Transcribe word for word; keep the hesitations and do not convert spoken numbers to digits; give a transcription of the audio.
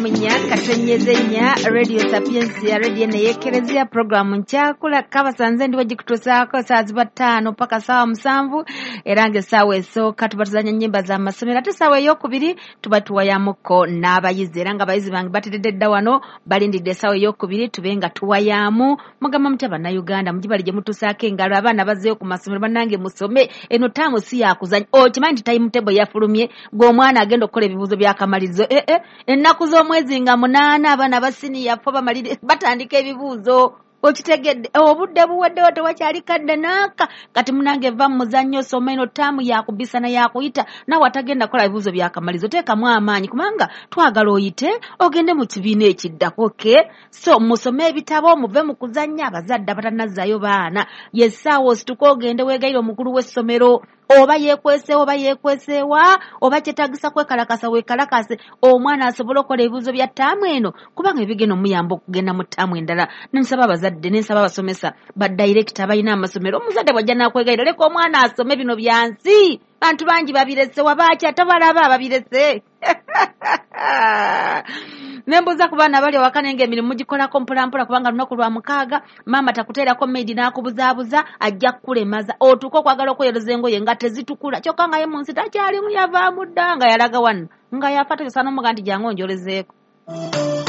mu nnya katonnyeze nnya, Radio Sapientia, radio neyekerezia programu nkyakula kabasanze ndiwo gikutuusaako saa ziba ttaano paka saawa musanvu, era ng'essaawa esooka tuba tuzannya nnyimba za masomero, ate essaawa eyokubiri tuba tuwayamukko n'abayizi, era ng'abayizi bange bateredde dda wano balindidde essaawa eyokubiri tube nga tuwayaamu. Mugamba mutya Bannayuganda, mugibali gye mutuusaako engalo, abaana bazzeeyo ku masomero, bannange musome, eno ttaamu si yakuzannya. Okimanyi nti timetable yafulumye, gw'omwana agenda okukola ebibuuzo by'akamalirizo, eh eh ennaku z'omwezi nga munaana abaana ba siniya fo bamaliri batandika ebibuuzo. Okitegedde, obudde buweddewo, tewakyali kadde naaka. Kati munange va mu muzannyo, soma, eno ttaamu yakubisana yakuyita, naawe atagenda kukola bibuuzo byakamalizo teekamu amaanyi, kubanga twagala oyite ogende mu kibiina ekiddako. Ke so musome ebitabo, muve mu kuzannya. Abazadde abatanazzaayo baana, yessaawa osituka ogende weegayire omukulu w'essomero, oba yeekweseewa oba yeekweseewa, oba kyetaagisa kwekalakasa weekalakase, omwana asobole okukola ebibuuzo bya ttaamu eno, kubanga ebigenda omuyamba okugenda mu ttaamu endala. Nensaba abazadde, nensaba abasomesa, badirekita abalina amasomero, omuzadde bw'ajja n'akwegayira, leka omwana asome, bino bya nsi, bantu bangi babirese, wabaaki atabalaba babirese. Nembuuza ku baana abali awaka, naye ng'emirimu mugikolako mpolampola, kubanga lunaku lwa mukaaga maama takuteerako maidi n'akubuzaabuza, ajja kukulemaza otuuke okwagala okweyoza engoye nga tezitukula, kyokka nga ye mu nsi takyalimu, yavaamu dda nga yalaga wano nga yafa, tosobola n'omuga nti jangu onjolezeeko.